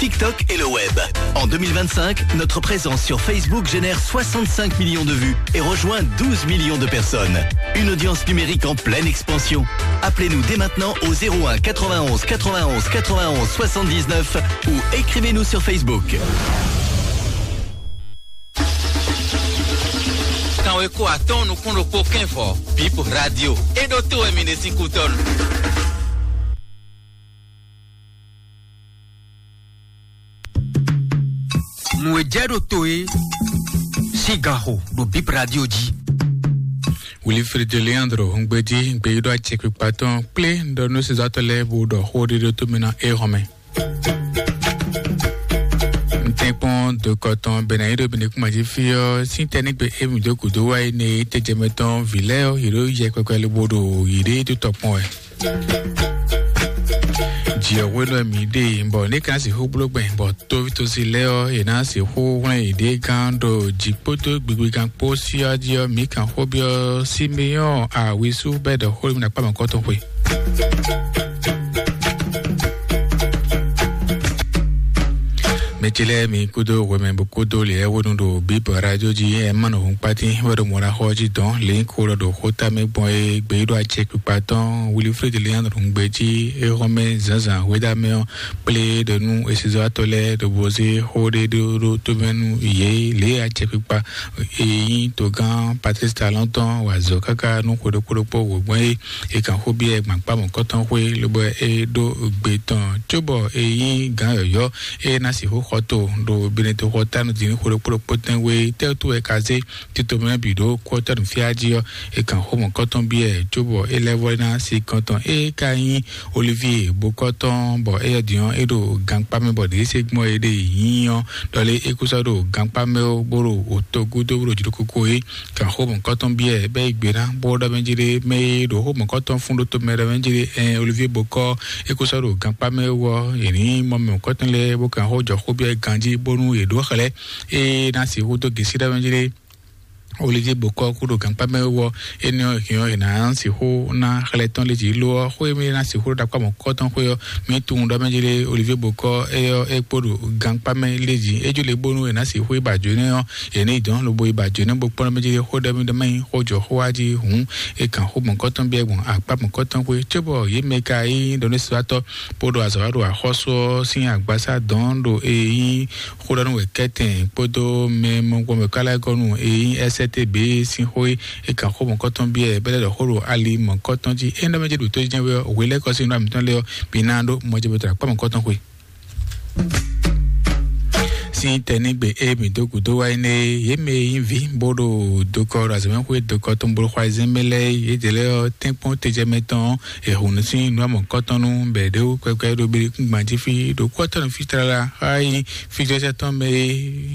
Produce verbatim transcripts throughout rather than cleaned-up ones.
TikTok et le web. En deux mille vingt-cinq, notre présence sur Facebook génère soixante-cinq millions de vues et rejoint douze millions de personnes. Une audience numérique en pleine expansion. Appelez-nous dès maintenant au zéro un quatre-vingt-onze quatre-vingt-onze quatre-vingt-onze soixante-dix-neuf ou écrivez-nous sur Facebook. Kanweko atɔ́ɔ́n nukún ɖokpó kɛ́nvɔ, Bip Radio. É ɖó tó wɛ mi ɖe sín kútɔ́nu. Nǔ e jɛ ɖo to é sín ganxo ɖo Bip Radio jí. Wilfred Leandro Hungbeji, gbeyíɖɔ acɛkpikpa tɔn kplé ɖɔ nú sezatɔ lɛ́ɛ bó ɖɔ xó ɖé ɖó tó mɛ ná é hɔn mɛ. Ntɛ́nkpɔ́n dokɔ tɔn bɛnɛ yí ɖo bɛnɛ kúma jí fí ɔ́, sín tɛ́ nígbe émí dó gǔdo wá yi nɛ tɛ́jɛmɛ tɔn vǐ lɛ́ɛ ɔ́, yě ɖo yɛ kpɛkpɛ lobo ɖo yě ɖée dó tɔ kpɔn wɛ. Jǐ ɔ́ hwenu wɛ mǐ ɖe, bɔ ní ka sixú bló gbɛn, bɔ tóvítósi lɛ́ɛ ɔ́, è nǎ sixú hwlɛ́n yěɖée gán ɖo jǐ kpódó gbigbigan kpó sí ɔ́ jí ɔ́, mǐ kan xó byɔ́ Simeɔ́ɔ Awisu bɛ́ ɖɔ xó mì ɖo akpá mɔ̌kɔ́tɔn xwe. Mɛ ce lɛ́ɛ mi kúdó hwɛmɛ bó kúdó lě lɛ́ɛ wónú ɖo Bíbɔ Radio jí, ɛ má nɔ hun kpátín wɛ ɖo mɔ̌ ná xɔ jí dɔn lě nyí kó lɔ ɖo xóta mɛ gbɔn é gbé ɖo acɛ kpikpa tɔn Wilifrédi lě nyanú ɖo nǔgbé jí é xɔ́ mɛ zǎnzǎn hwéɖá mɛ ɔ́ kplé ɖo nú esizɔ́watɔ́ lɛ́ɛ ɖo bó zé xó ɖé ɖó ɖó tómɛ nú yě lě acɛ kpikpa e nyí togán Patrice Talon tɔn wa azɔ̌ káká nú xwe ɖokpó ɖokpó wǒgbɔn é. È kan xó byɔ́ ɛ gbǎn kpá mɔ̌kɔ́tɔn xwé, lobo é ɖó gbe tɔn cóbɔ é nyí gǎn yɔ̌yɔ́ é ná sixú xɔ to ɖo Benedikto xɔ tánu din ní xwe ɖokpó ɖokpó tɛ́nwe tɛ́wútu wɛ ka zé tito mɛ bǐ ɖó kɔ́tɔ́ nǔfíá jí ɔ́. È kan xó mɔ̌kɔ́tɔn byɔ́ ɛ cóbɔ é lɛ́ vɔ́ ná sí kɔn tɔn é ka nyí Olivier bokɔ́tɔn, bɔ éyɛ́ din ɔ́ é ɖo gankpá mɛ bɔ ɖě é se gbɔn é ɖe nyí ɔ́, ɖɔ lé é kú sɔ́ ɖo gankpá mɛ ó bó ɖo òto gúdo bó ɖo jló kókó é. Kan xó mɔ̌kɔ́tɔn byɔ́ ɛ bɛ́ yi gbe ná bó ɖɔ mɛ jí ɖé mɛ e ɖo xó mɔ̌kɔ́tɔn fún ɖó tomɛ ɖɔ mɛ jí ɖé ɛn Olivier Bokɔ é kó sɔ́ ɖo gankpá mɛ wɔ yě ní mɔ mɛ mɔ̌kɔ́tɔn lɛ́ɛ bó kan xó jɔ xó byɔ́ ɛ ganjí bónú yě ɖó xlɛ́ é ná sixú dó gěsí ɖɔ mɛ jí ɖé. Olivier Bokɔ kú ɖo gankpá mɛ wɔ énɛ́ ɔ́ hɛn ɔ́ è nǎ sixú ná xlɛ́ tɔn lé jí lo ɔ́ xó e mɛ ná sixú ɖo ɖakpá mɔ̌kɔ́tɔn xwé ɔ́ mɛ tunwun ɖɔ mɛ jí ɖé Olivier Bokɔ é ɔ́ é kpó ɖo gankpá mɛ lé jí é jó le bónú è nǎ sixú yi ba jǒ nɛ́ ɔ́ yě ní yi dɔn lobo yi ba jǒ nɛ́ bó kpɔ́n ɖɔ mɛ jí xó ɖɔ mɛ ɖɔ mɛ nyí xó jɔ xó wá jí hǔn. È kan xó mɔ̌kɔ́tɔn byɔ́ gbɔn akpá mɔ̌kɔ́tɔn xwé cóbɔ yě mɛ ka nyí ɖɔ nú sitátɔ́ bó ɖo azɔ̌ wa ɖo axɔ́sú ɔ́ sín agbasá dɔn ɖo e nyí xó ɖɔ nú wɛ kɛ́tɛn kpódó mɛ mɔgbɔn mɛ ká lɛ́ɛ gɔ́ nú e nyí S C T B sín xó é. È kan xó mɔ̌kɔ́tɔn byɔ́ bɛ́ lɛ́ ɖɔ xó ɖo ali mɔ̌kɔ́tɔn jí é ɖɔ mɛ jí ɖo tó jɛ́n wɛ hwe lɛ́ɛ kɔ sín nǔ amǐtɔn lɛ́ɛ ɔ́ bǐ ná ɖó mɔjɛbɛtɔ́ akpá mɔ̌kɔ́tɔn xwé. Sín tɛnígbe e mǐ dó gǔdo wá énɛ́ é, yě mɛ e nyí vǐ bó ɖo dokɔ ɖo azɔ̌mɛxwé dokɔ tɔn bó ɖo xɔ ayizɛ́n mɛ lɛ́ɛ é, yědɛɛ lɛ́ɛ ɔ́ tɛ́nkpɔ́n tejɛmɛ tɔn è hun nǔ sín nǔ amɔ̌kɔ́tɔn nú bɛ̌ ɖé wú kpɛkpɛ ɖo Belikúngban jí fí ɖo kú ɔ́ tɔn nú fí tlala xá é nyí fíjɔ́jɛ́ tɔn mɛ é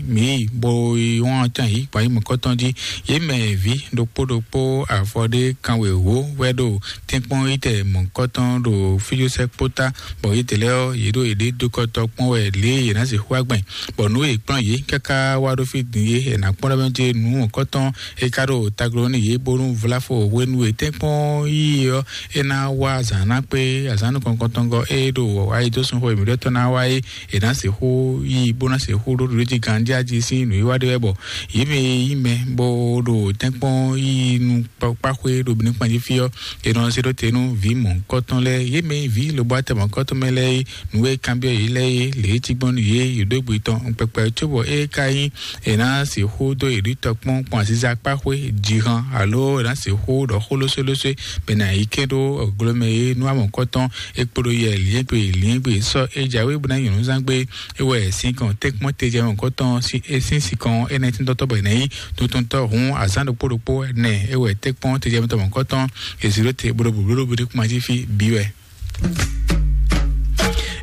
mǐ yi bó yi wán tɔn yǐ gbǎn yi mɔ̌kɔ́tɔn jí. Yě mɛ vǐ ɖokpó ɖokpó afɔ ɖé kanwěwó wɛ ɖo tɛ́nkpɔ́n yi tɛ mɔ̌kɔ́tɔn ɖo fíjɔ́sɛ́ kpótá bɔ yědɛɛ lɛ́ɛ ɔ́, yě ɖo yěɖée dó kɔ tɔn kpɔ́n wɛ lě e yě ná sixú wá gbɛn, bɔ nǔ e è kplɔ́n yě káká wá ɖó fí din é, è nǎ kpɔ́n ɖɔ mɛ jɛ nǔ mɔ̌kɔ́tɔn e ka ɖo tagló nú yě bónú vláfo hwenu e tɛ́nkpɔ́n yíyí ɔ́, é ná wá azǎn ná kpé azǎn nukɔn kɔntɔngɔ e ɖo ayidósun xwe mǐɖɔtɔn ná wá é, è nǎ sixú yí bó ná sixú ɖó ɖoɖó jí ganjí ají sín nǔwiwa ɖé wɛ bɔ yě mɛ e nyí mɛ bó ɖo tɛ́nkpɔ́n yíyí nú kpákpáxwé ɖo Benin kpanjí fí ɔ́, è nɔ zé ɖó te nú vǐ mɔ̌hunkɔtɔn lɛ́ɛ, yě mɛ e nyí vǐ lobɔ́atɛ mɔ̌hunkɔtɔn mɛ lɛ́ɛ é, nǔ e kanbyɔ́ yě lɛ́ɛ é, lě e cí gbɔn nú yě, yě ɖó gbe tɔn kpɛkpɛ cóbɔ é ka nyí è nǎ sixú dó yě ɖitɔ kpɔ́n gbɔn aziza kpáxwé, jǐhan, alo è nǎ sixú ɖɔ xó lóswélóswé, bɔ è nǎ yi kɛ́n ɖó glomɛ é nú amɔ̌kɔtɔn é kpódó yɛ lǐngbè lǐngbè sɔ́ é jǎwe bó ná nyɔ̌nuzángbe é wɛ sinkɔn tɛ́nkpɔ́n tejɛ mɔ̌hunkɔtɔn sín é sín sinkɔn énɛ́ tíntɔ́tɔ́ bɔ è nǎ nyí tuntuntɔ́ hǔn azǎn ɖokpó ɖokpó nɛ é wɛ tɛ́nkpɔ́n tejɛmɛtɔ́ mɔ̌kɔtɔn è zǐ ɖó te bó ɖo bǔblóɖó bó ɖo kúma jí fí bǐ wɛ.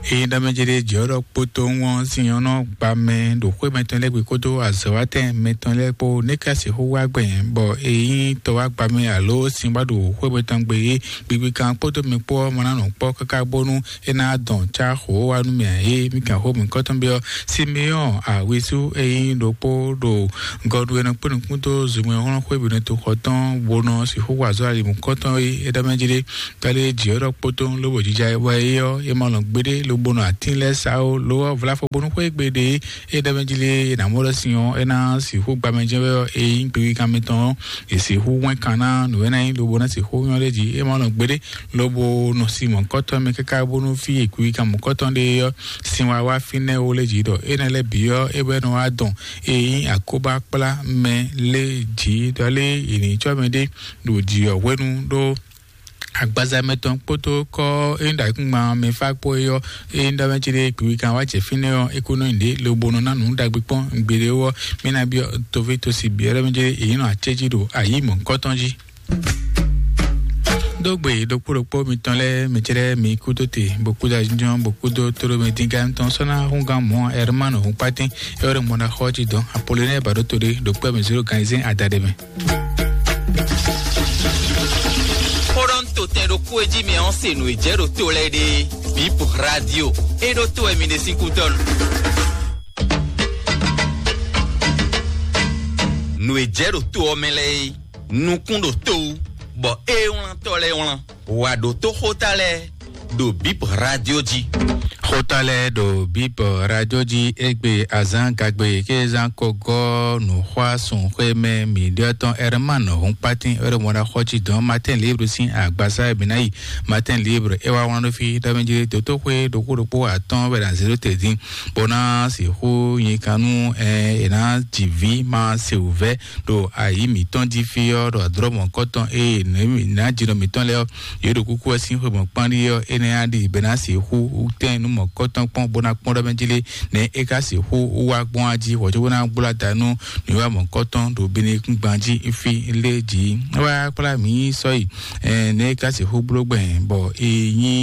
Ényí ɖɔ mɛ jɛ ɖe jɛ ɔ́ ɖɔ kpótó ŋɔ́ sin ɔ́ nɔ gba mɛ ɖo xwé mɛtɔn lɛ́ɛ gbe kpódó azɔ̌wátɛn mɛtɔn lɛ́ɛ kpó ní ká sixú wá gbɛn bɔ ényí tɔ wá gba mɛ alo sin wá ɖo xwé mɛtɔn gbe é, gbigbi kan kpódó mi kpó ɔ́ mɔ ná nɔ kpɔ́ káká bónú é ná dɔn cá xó wá nú mì ǎ é. Mì kan xó mǐkɔtɔn byɔ́ Simeɔ́ɔ Awisu e nyí ɖokpó ɖo gɔɖu e nɔ kpé nukún dó zunmɛ hlɔ́n xwé bǐ nɔ to xɔ tɔn bó nɔ sixú wa azɔ̌ ali mǐkɔtɔn é. É ɖɔ mɛ jí ɖé, kálí jǐ ɔ́ ɖɔ kpótó lobo jija wɛ é ɔ́, é ma lɔn gbeɖé bónú atín lɛ́ɛ sa ó, lo ɔ́, vláfɔ bónú xwé gbe ɖe é ɖɛ́ mɛ jí lé, é nǎ mɔ ɖɔ sin ɔ́, é ná sixú gbamɛ jɛ́n wɛ ɔ́, é nyí gbéwíkan mɛtɔn ɔ́, è sixú wɛn kan ná nǔ e ná nyí lobo ná sixú nyɔ́ ɖ'é jí. É ma nɔ gbeɖé lobo nɔ sin mɔ̌kɔtɔn mɛ káká bónú fí e gbéwíkan mɔ̌kɔtɔn ɖe ɔ́, sin wa wá fínɛ́ ó lé jí ɖɔ énɛ́ lɛ́ɛ bǐ ɔ́, é wɛ nɔ wá dɔn e nyí akóbá kplá mɛ lé jí ɖɔ lé è nǐ cɔ́ mɛ ɖé ɖo jǐ ɔ́ hwenu ɖó agbaza mɛtɔn kpódó kɔ é ɖo ayǐkúngban mɛ fá kpó é ɔ́, é ɖɔ mɛ cí ɖé gbǐgbí kan wá jɛ fínɛ́ ɔ́, é kó nɔ nyi ɖě lobo nɔ ná nǔ ɖagbe kpɔ́n gbeɖé ɔ́, mí ná byɔ́ toví tosi byɔ́ ɖɔ mɛ cí ɖé è nyí nɔ acéjí ɖo ayǐ mɔ̌kɔtɔn jí. Dó gbe ɖokpó ɖokpó mitɔn lɛ́ɛ, mɛ cí ɖé mi kú dó te, bó kú dó ajínjɔ́n, bó kú dó tóɖó mɛ dín gán tɔn sɔ́ ná hún gán mɔ̌ Ɛrmán Húnkpátí, é wɛ ɖo mɔ ná xɔ jí dɔn Apolonɛ́ɛ ba ɖó to ɖé ɖo kpɛ́ mɛ zéro gán zɛ́n adaɖé mɛ. Xó ɖɔ ń to tɛn ɖokpó e jí mɛ ɔ́ se nǔ e jɛ ɖo to lɛ́ɛ ɖe. Bip Radio, e ɖo to wɛ mi ɖe sín kútɔ́ nu. Nǔ e jɛ ɖo to ɔ́ mɛ lɛ́ɛ é, nukún ɖo to wú, bɔ é wlántɔ́ lɛ́ɛ wlán. Wǎ ɖótó xóta lɛ́ɛ ɖo Bip Radio jí. Xóta lɛ́ɛ ɖo Bip Radio jí égbé azǎn gagbe ké zán ko gɔ́ nǔxwásúnxwémɛ mǐɖyɔ́tɔn Ɛrmán Húnkpátín Ɛrmɔ́ɖaxɔ́ cí dɔn Matin Libre sín agbasá e mǐ ná yi. Matin Libre é wá wlán ɖó fí ɖɔ mɛ jí dǒkúɖokpó atɔ́ɔ́n wɛ ɖo azě ɖó te dín, bó ná sixú nyi kan nú ɛ è nǎ ji vǐ ma se wǔvɛ́ ɖo ayǐ mǐtɔn jí fí ɔ́, ɖo adrɔ̌ mɔ̌kɔtɔn ée nǎjinɔ mǐtɔn lɛ́ɛ ɔ́, yě ɖo kúkú wɛ sín xwe mɔ̌kpán ɖíe ɔ́, énɛ́ á ɖi bɛ̌ ná sixú tɛ́n nú mɔ̌kɔtɔn kpɔ́n bó ná kpɔ́n ɖɔ mɛ jí lé, nɛ̌ é ka sixú wá gbɔn á jí hwɛ̌ cóbó ná gblá ta nú nǔwiwa mɔ̌kɔtɔn ɖo binekúngban jí fí lé jí. É wá kplá mǐ sɔ́ yi, nɛ̌ é ka sixú bló gbɛn bɔ è nyí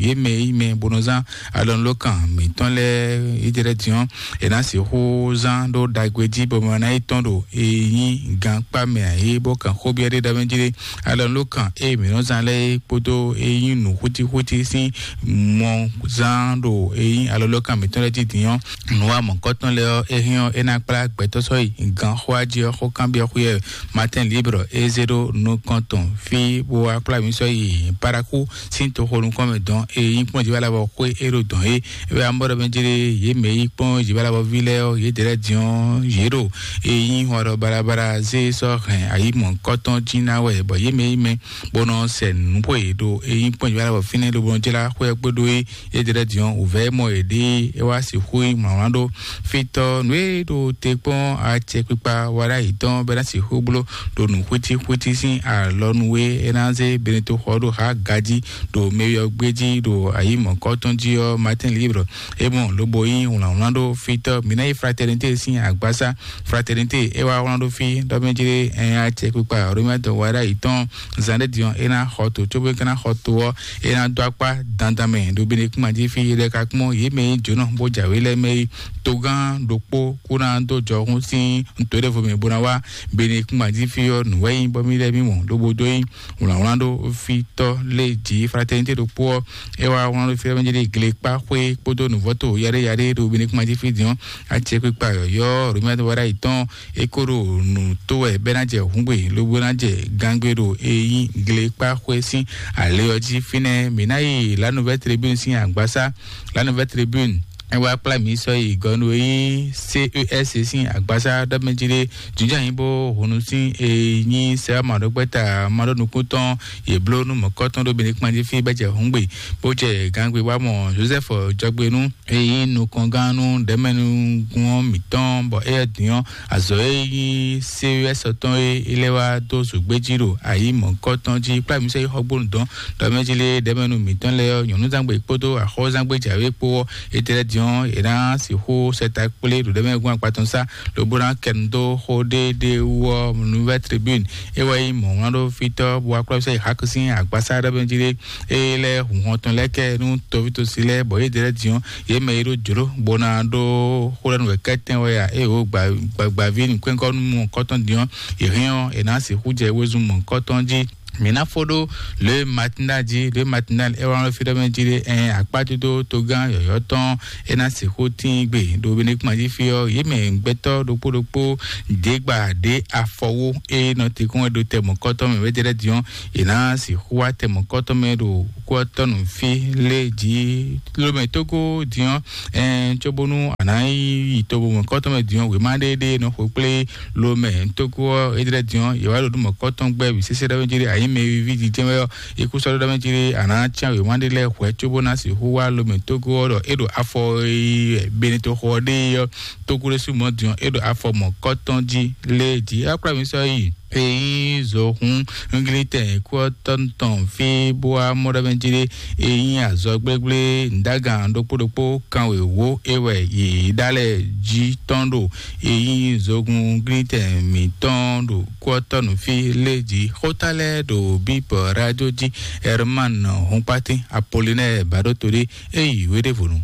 yě mɛ e nyí mɛ bó nɔ zán alɔnulókan mǐtɔn lɛ́ɛ yi jɛ ɖɛ́ din ɔ́, è nǎ sixú zán ɖó ɖagbe jí bɔ mɛ ná yi tɔ́n ɖo e nyí gankpá mɛ ǎ é bó kan xó byɔ́ ɖé ɖɔ mɛ jí ɖé. Alɔnulókan e mǐ nɔ zán lɛ́ɛ é kpódó e nyí nǔ xútíxútí sín mɔ zán ɖo e nyí alɔnulókan mǐtɔn lɛ́ɛ jí din ɔ́, nǔ wa mɔ̌kɔtɔn lɛ́ɛ ɔ́, é hɛn ɔ́, é ná kplá gbɛtɔ́ sɔ́ yi ganxó jí ɔ́, xó kanbyɔ́ xwé ɔ́, Matin Libre é zé ɖó nukɔn tɔn fí bó wá kplá mǐ sɔ́ yi Paraku sín toxo nukɔn mɛ dɔn e nyí kpɔ́n jí wá lá bɔ xwé é ɖo dɔn é. É wɛ amɔ́ ɖɔ mɛ jlé yě mɛ yí kpɔ́n jí wá lá bɔ ví lɛ́ɛ ɔ́, yě dɛ́ lɛ́ din ɔ́, yě ɖo e nyí hɔn ɖɔ balabala zé sɔ́ hɛn ayǐ mɔ̌kɔtɔn jí ná wɛ, bɔ yě mɛ yí mɛ bó nɔ sɛ nǔ xwe ɖo e nyí kpɔ́n jí wá lá bɔ fínɛ́ ɖo bó nɔ jlá xwé ɔ́ kpódó é. Yédɛ́lɛ́ diɔn wǔvɛ́ mɔ yěɖée é wá sixú nyí mlǎwlán ɖó. Fítɔ́ nǔ e ɖo te kpɔ́n acɛkpikpa wa ɖ'ayǐ tɔn bɔ é ná sixú bló ɖo nǔ xwítíxwítí sín alɔnu e é ná zé Benito xɔ ɖo há gají ɖo mɛyɔgbé jí ɖo ayǐ mɔ̌kɔtɔn jí ɔ́, Matin Libre é mɔ lobo nyí wlǎnwlán ɖó. Fítɔ́ mǐ ná yi Fraternité sín agbásá. Fraternité é wá wlán ɖó fí ɖɔ mɛ jlé ɛn acɛkpikpa Romiatɔ wa ɖ'ayǐ tɔn zan ɖé din ɔ́, é ná xɔ to, cóbó é ka ná xɔ to ɔ́, é ná dó akpá dandan mɛ ɖo Benekúnma jí fí. Yě lɛ́ɛ ka kpɔ́n yě mɛ e nyí jǒnɔ bó jǎwe lɛ́ɛ mɛ é. Togán ɖokpó kú ná dó jɔhún sín nǔtɔ́ɖɛvo mɛ bó ná wá Benekúnma jí fí ɔ́, nǔ wɛ nyí bɔ mí lɛ́ɛ mí mɔ lobo dó nyí wlǎnwlán ɖó fítɔ́ lé jǐ. Fraternité ɖokpó ɔ́, é wá wlán ɖó fí ɖɔ mɛ jlé glekpá xwé kpódó nǔvɔ́to yaɖé yaɖé ɖo Benekúnma jí fí din ɔ́, acɛkpikpa yɔ̌yɔ́ Romiatɔ wa ɖ'ayǐ tɔn é kó ɖo nǔ tó wɛ bɔ é ná jɛ hǔngbe lobo ná jɛ gangbe ɖo e nyí glekpá xwé sín alé ɔ́ jí. Fínɛ́ mǐ ná yi La Nouvelle Tribune sín agbásá. La Nouvelle Tribune é wá kplá mǐ sɔ́ yi gɔnu e nyí C E S sín agbásá ɖɔ mɛ jí ɖé jǐnjɔ́n nyí bó hunu sín e nyí sɛ́ maɖɔgbɛ́ta maɖɔnukúntɔn yě bló nú mɔ̌kɔtɔn ɖó Benekúnma jí fí bɔ é jɛ hǔngbe bó jɛ gangbe wá mɔ Joseph jɔgbe nú e nyí nukɔngán nú ɖɛ̌mɛnúgún ɔ́ mǐtɔn, bɔ éyɛ́ din ɔ́, azɔ̌ e nyí C E S tɔn e é lɛ́ wá dó zǒgbé jí ɖo ayǐ mɔ̌kɔtɔn jí kplá mǐ sɔ́ yi xɔgbónu dɔn ɖɔ mɛ jí lé ɖɛ̌mɛnú mǐtɔn lɛ́ɛ ɔ́, nyɔ̌núzangbe kpódó axɔ́zangbe jǎwe kpó ɔ́, étɛ́ din ɔ́, è ná sixú sɛ ta kplé ɖo ɖɛ̌mɛnúgún akpatɔn sá, lobo ná kɛ nu dó xó ɖé ɖé wú ɔ́, Nouvelle Tribune é wɛ nyí mɔ̌wlán ɖó fítɔ́ bó wá kplá mǐ sɔ́ yi Hak sín agbásá ɖɔ mɛ jí lé. Eye lɛ́ɛ hun hɔn tɔn lɛ́ɛ kɛ nú tɔvítosi lɛ́ɛ, bɔ yě dɛ lɛ́ɛ din ɔ́, yě mɛ e ɖó jlǒ bó ná ɖó xó lɛ́ɛ nú wɛ kɛ́tɛ́n wɛ a? Eye wǒ gbagbaví nǔkpɛ́nkɔ́númɔkɔ́tɔn din ɔ́, yě hɛn ɔ́, è nǎ sixú jɛ wezun mɔ̌kɔ́tɔn jí. Mǐ ná fó ɖó Le Matinal jí. Le Matinal é wá nɔ fí ɖɔ mɛ jí ɖé, ɛn akpájúdó togán yɔ̌yɔ́ tɔn é ná sixú tín gbe ɖo Benikuma jí fí ɔ́, yě mɛ gbɛtɔ́ ɖokpó ɖokpó ɖě gba ɖě afɔwó é nɔ te kɔn wɛ ɖo tɛ mɔ̌kɔtɔn mɛ wɛ́ jɛ lɛ́ din ɔ́, è nǎ sixú wá tɛ mɔ̌kɔtɔn mɛ ɖo kú ɔ́ tɔn nǔ fí lé jí. Lomɛ Tógó din ɔ́, ɛn cóbónú a nǎ yi to mɔ̌kɔtɔn mɛ din ɔ́, wěma ɖé ɖé nɔ xwe kplé lomɛ Tógó ɔ́, é jɛ lɛ́ din ɔ́, yě wá ɖo nú mɔ̌kɔtɔn gbɛ́ bǐ sésé ɖɔ́ mɛ jí ɖé, a nyǐ mɛ e ví jijɛ wɛ ɔ́, é kú sɔ́ ɖɔ ɖɔ mɛ jí ɖé, a nǎ cyán wěma ɖé lɛ́ɛ hwɛ̌ cóbó ná sixú wá lomɛ Tógó ɔ́ ɖɔ é ɖo afɔ e Benetɔxɔ ɔ́ ɖe é ɔ́, Tógó ɖésú mɔ̌ din ɔ́, é ɖo afɔ mɔ̌kɔtɔn jí lé jí. É wá kplá mǐ sɔ́ yi e nyí zohún Glitɛn kú ɔ́ tɔn tɔn fí bó wá mɔ ɖɔ mɛ jí ɖé, e nyí azɔ gblégblé Ndágan ɖokpó ɖokpó kanwěwó é wɛ yě ɖa lɛ́ɛ jí tɔn ɖo e nyí zogun Glitɛn mǐtɔn ɖo kú ɔ́ tɔn nǔ fí lé jí. Xóta lɛ́ɛ ɖo Bíbɔ Radio jí, Herman Hunkpatín Apollinaire Baɖótodé é yi wé ɖěvo nu.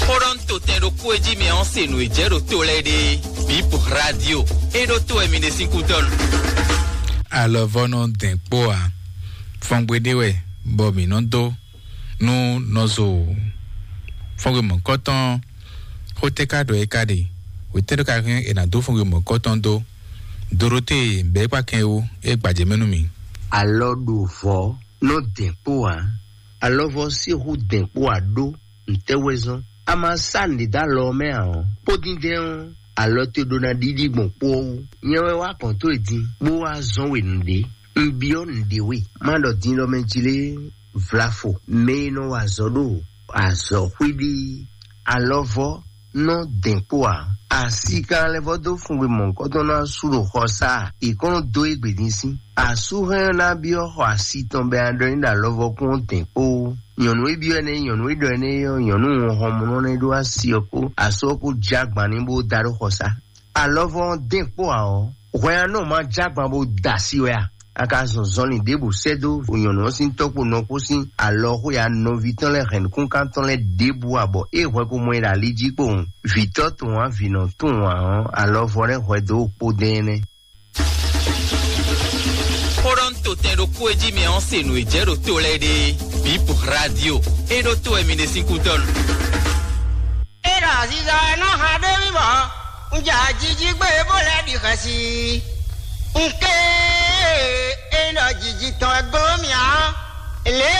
Xó ɖɔ un to tɛn ɖokpó e jí mɛ ɔ́ se nǔ e jɛ ɖo to lɛ́ɛ ɖe. Bip Radio é ɖó to wɛ mi ɖe sín kútɔ́ nu. Alɔvɔ́ nɔ dɛn kpó ǎ. Fɔngbe ɖé wɛ bɔ mǐ nɔ dó nú nɔzo fɔngbe mɔ̌kɔtɔn. Xó tɛ́ ka ɖɔ é ka ɖe? Wětɛ́ ɖó ka hɛn è nǎ dó fɔngbe mɔ̌kɔtɔn dó? Dorote bɛ̌ kpa kɛn wú é gbajɛ mɛ nú mì. Alɔ ɖo vɔ̌ nɔ dɛn kpó ǎ. Alɔvɔ sixú dɛn kpó ǎ ɖó ntɛ́ wɛ zɔ́n? A ma sá nǔɖé dó alɔ ɔ́ mɛ ǎ ɔ́, kpódíndɛ́n ɔ́, alɔ te ɖó ná ɖiɖi gbɔn kpó ɔ́ wú. Nyɛ wɛ wá kɔn tó e din, bó wá zɔ́n we nǔɖé. Un byɔ́ nǔɖé we, má ɖɔ din ɖɔ mɛ jí lé vlafo mɛ e nɔ wa azɔ̌ ɖo azɔ̌xwíɖí alɔvɔ nɔ dɛn kpó ǎ. Asi kan lɛ́ vɔ dó fungbe mɔ̌hunkɔtɔn ná sú ɖo xɔsá, è kɔn nɔ dó égbé dín sín. Asú hɛn ná byɔ́ xɔ asi tɔn bɛ aɖɔ ní ɖo alɔvɔ kún dɛn kpó. Nyɔ̌nu e byɔ́ ɛnɛ, nyɔ̌nu e ɖɔ ɛnɛ ɔ́, nyɔ̌nu hɔnmɔnɔ nɛ́ ɖó asi ɔ́ kpó asú ɔ́ kpó jɛ agban ní bó da ɖó xɔsá. Alɔvɔ ɔ́ dɛn kpó ǎ ɔ́, hwɛ ɔ́ nɔ ma jɛ agban bó da asi wɛ a? A ka zɔn zɔnlin ɖěbǔ sɛ́ dó nyɔ̌nu ɔ́ sín tɔ́ kpó nɔ kpó sín alɔ xwe ya nɔví tɔn lɛ́ɛ hɛ̌nnukúnkan tɔn lɛ́ɛ ɖěbǔ ǎ, bɔ é hwɛ ko mɔ ɛ ɖo ali jí kpowun. Vǐtɔ́ tɔn ǎ, vǐnɔ tɔn ǎ ɔ́, alɔvɔ lɛ́ɛ hwɛ dó kpó dɛn ɛnɛ. Xó ɖɔ un to tɛn ɖokpó e jí mɛ ɔ́ se nǔ e jɛ ɖo to lɛ́ɛ ɖe. Bip Radio é ɖó to wɛ mi ɖe sín kútɔ́ nu. Eda ziza nɔ ha ɖe mi bɔ un ja jiji gbe bo lɛ ɖi xɛsi. Un ke e nɔ jiji tɔn e glo mia. Le